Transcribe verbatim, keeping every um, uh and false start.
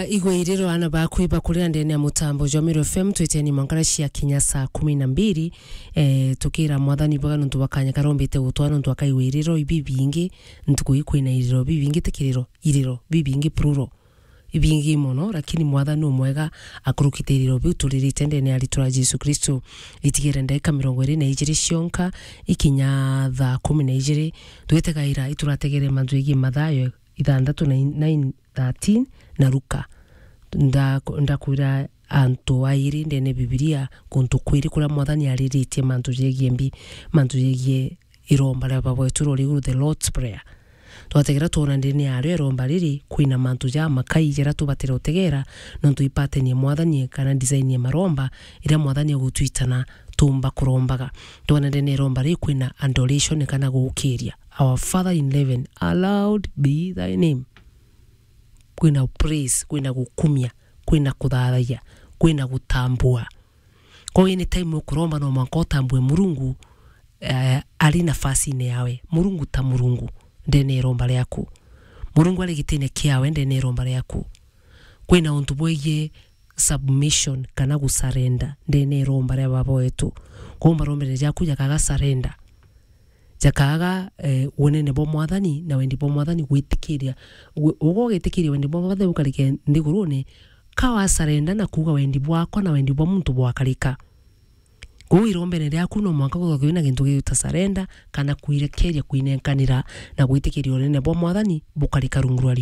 Igwe iriro ana baku ibakurira ndene ya mutambo jwa Meru F M, twiteni mwankara cia kinya saa kumi na mbiri. Eh, tukira Mwathani bwega nontu bwa kanya karombete gutwa nontu akaigwe iriro ibi bingi, ntuku ii kwina iriro bibingi, ti kiriro, iriro bibingi plural. Ibingi mono, lakini Mwathani umwega akurukite iriro biu turirite ndene ya ritwa ria Jesu Kristo. Itigere ndagika mirongo iri na ijiri cionka, ikinya thaa kumi na ijiri, twitegaira iturategere mantu jegii Mathayo ithanthatu na in-, nine thirteen na Luka. Nda-, ndakwira antu airi ndene Bibilia, kuntu kwiri kuria Mwathani ariritie mantu jegii mbi, mantu jegii iromba ria Baba wetu ruri iguru, the Lord's Prayer. Twategera twona ndene yario iromba riri, kwina mantu jamakai jaria tubatire utegera, nontu ipatenie Mwathani kana design ya maromba iria Mwathani agutwitana tumba kurombaga. Twona ndene iromba riri kwina adoration kana gukiria. Our Father in heaven, hallowed be thy name. Kwina praise, kwina gukumia, kwina kuthathayia, kwina gutambua. Kwa hiyo, anytime ukuromba, no mwanka utambue Murungu, eh, ari nafasine yawe. Murungu ta Murungu ndene iromba riaku. Murungu ari gitine kiawe ndene iromba riaku. Kwina untu bwegie submission kana gusarenda ndene iromba ria Baba wetu. Kwa hiyo, marombere jaku jakaga surrender. Jakaaga, eh, unene bwa Mwathani na wendi bwa Mwathani gwitikiria. Gu-, uga ugitikiria wendi bwa Mwathani bukarike nthigurune, ka wasarenda na kuuga wendi bwakwa na wendi bwa muntu bwakarika. Kuu irombene riaku no mwanka guthagwe wina gintu gigwita surrender kana kwirekeria kwinenkanira na gwitikiria unene bwa Mwathani bukarika rungu rwa